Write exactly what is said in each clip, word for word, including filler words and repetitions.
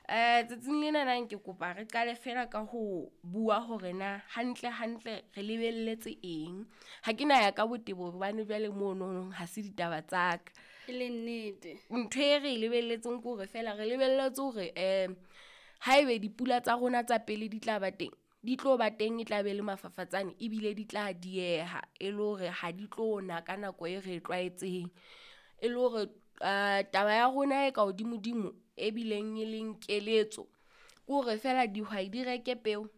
Eh tsatsing lena nang ke kopa re qale fela ka ho bua hore na hantle hantle re lebelletse eng. Ha ke na ya ka botebo hobane jwale mono ha se ditaba tsa ka. E le nnete. Ntho e re e lebelletseng ke hore feela re lebelletse hore eh haebe dipula tsa rona tsa pele di tla ba teng, di tlo ba teng e tla be le mafafatsane ebile di tla dieha. E le hore ha di tlo na ka nako e re e tlwaetseng. E le hore taba ya rona e ka hodimodimo e bileng e leng keletso, ke hore feela dihwai di reke peo.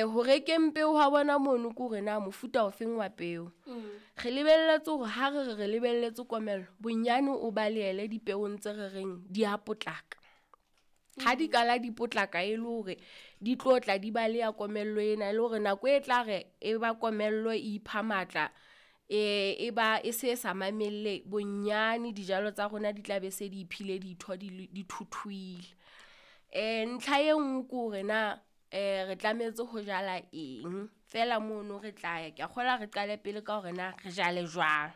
Ho rekeng peo ha bona mono ke hore na mofuta ofeng wa peo. Re lebelletse hore ha re re re lebelletse komello, bonyane o balehele dipeong tse re reng di a potlaka. Ha di kala di potlaka e le hore di tlo tla di baleha komello ena, e le hore nako e tla re e ba komello e ipha matla, e ba e se sa mamelle. Bonyane dijalo tsa rona di tla be se di iphile ditho di di thuthuhile. Ntlha e nngwe ke hore na re tlametse ho jala eng, feela mono re tla ya. Ke a kgolwa re qale pele ka hore na re jale jwang.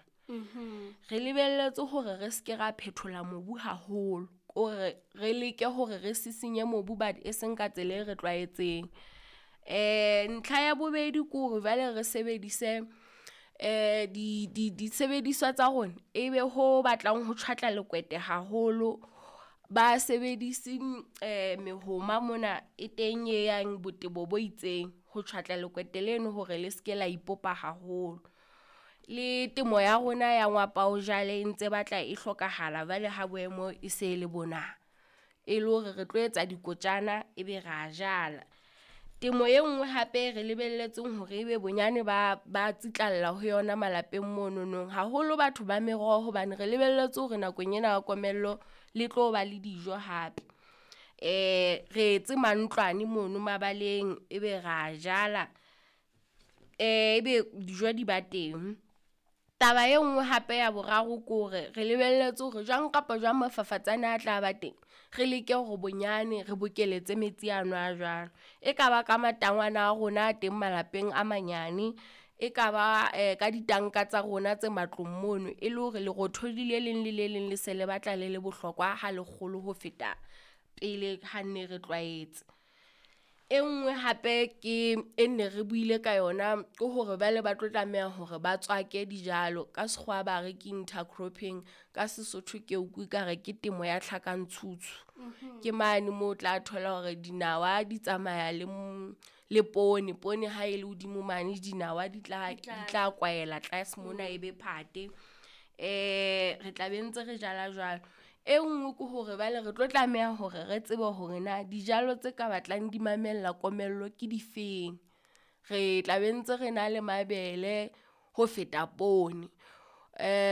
Re lebelletse hore re seke ra phethola mobu haholo. Ke hore re leke hore re sisinye mobu but e seng ka tsela e re tlwaetseng. Ntlha ya bobedi ke hore jwale re sebedise di di disebediswa tsa rona, e be ho batlang ho tjhwatla lekwete haholo. Ba sebedise mehoma mona e teng e yang botebo bo itseng, ho tjhwatla lekwete leno hore le seke la ipopa haholo. Le temo ya rona ya ngwapa o jale e ntse batla e hlokahala jwale ha boemo e se le bona. E le hore re tlo etsa dikotjana, ebe ra jala. Temo e nngwe hape re lebelletseng hore ebe bonyane ba ba tsitlalla ho yona malapeng monono. Haholo batho ba meroho hobane re lebelletse hore nakong ena ya komello le tlo ba le dijo hape. Re etse mantlwane mono mabaleng, ebe ra jala ebe dijo di ba teng. Taba e nngwe hape ya boraro ke hore re lebelletse hore jwang kapa jwang mafafatsane a tla ba teng. Re leke hore bonyane re bokeletse metsi ano a jwalo. E kaba ka matangwana a rona a teng malapeng a manyane, e kaba ka ditanka tsa rona tse matlong mono. E le hore lerothodi le leng le le leng le se le batla le le bohlokwa ha lekgolo ho feta pele ha nne re tlwaetse. E nngwe hape ke e nne re buile ka yona, ke hore jwale ba tlo tlameha hore ba tswake dijalo. Ka sekgowa ba re ke intercropping, ka Sesotho ke utlwe ekare ke temo ya tlhakantshutshu. Ke mane moo o tla thola hore dinawa di tsamaya le le poone. Poone ha e le hodimo mane, dinawa di tla di tla kwaela tlase mona e be phate. Re tla be ntse re jala jwalo. E nngwe ke hore jwale re tlo tlameha hore re tsebe hore na dijalo tse ka batlang di mamella komello ke difeng. Re tla be ntse re na le mabele ho feta poone.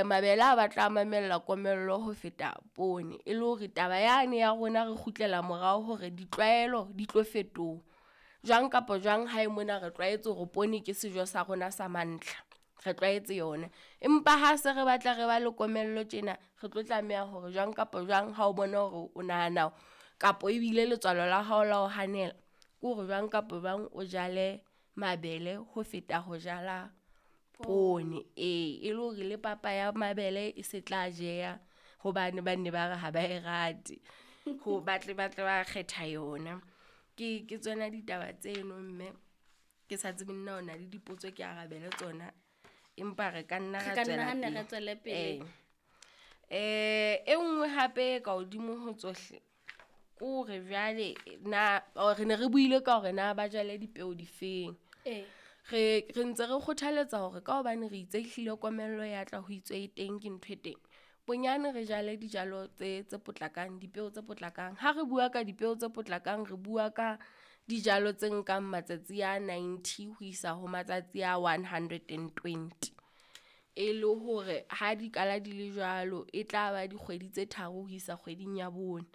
Mabele a batla a mamella komello ho feta poone. E le hore taba yane ya rona re kgutlela morao hore ditlwaelo di tlo fetoha. Jwang kapa jwang hae mona re tlwaetse hore poone ke sejo sa rona sa mantlha, re tlwaetse yona. Empa ha se re batla re ba le komello tjena, re tlo tlameha hore jwang kapa jwang ha o bona hore o nahana kapo ebile letswalo la hao la ho hanela. Ke hore jwang kapa jwang o jale mabele ho feta ho jala poone. Ee, e le hore le papa ya mabele e se tla jeha hobane ba ne ba re ha ba e rate. Ho batle batle ba kgetha yona. Ke ke tsona ditaba tseno mme ke sa tsebeng na o na le dipotso ke arabele tsona. Empa re ka nna Re ra ka nna tswela ha nne re pele. tswele pele. Eh e nngwe hape e ka hodimo ho tsohle, ke hore jwale na re ne re buile ka hore na ba jale dipeo difeng. Ee. Re re ntse re kgothaletsa hore ka hobane re itse ehlile komello ya tla ho itswe e teng ke ntho e teng. Bonyane re jale dijalo tse tse potlakang, dipeo tse potlakang. Ha re bua ka dipeo tse potlakang, re bua ka dijalo tse nkang matsatsi a ninety ho isa ho matsatsi a one hundred and twenty. E le hore ha di kala di le jwalo, e tla ba dikgwedi tse tharo ho isa kgweding ya bone.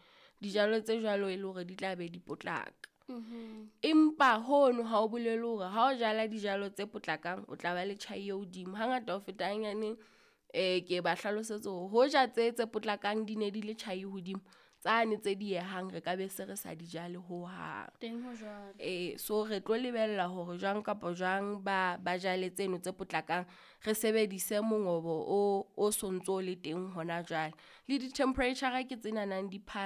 Dijalo tse jwalo e le hore di tla be di potlaka. Empa hono ha o bolele hore ha o jala dijalo tse potlakang, o tla ba le tjhai e hodimo. Hangata ho feta hanyane ke ba hlalosetse hore hoja tse tse potlakang di ne di le tjhai hodimo, tsane tse diehang re ka be se re sa di jale hohang. Teng ho jwalo. E so re tlo lebella hore jwang kapa jwang ba ba jale tseno tse potlakang. Re sebedise mongobo o o sontso le teng hona jwale. Le di-temperature ke tsenana di .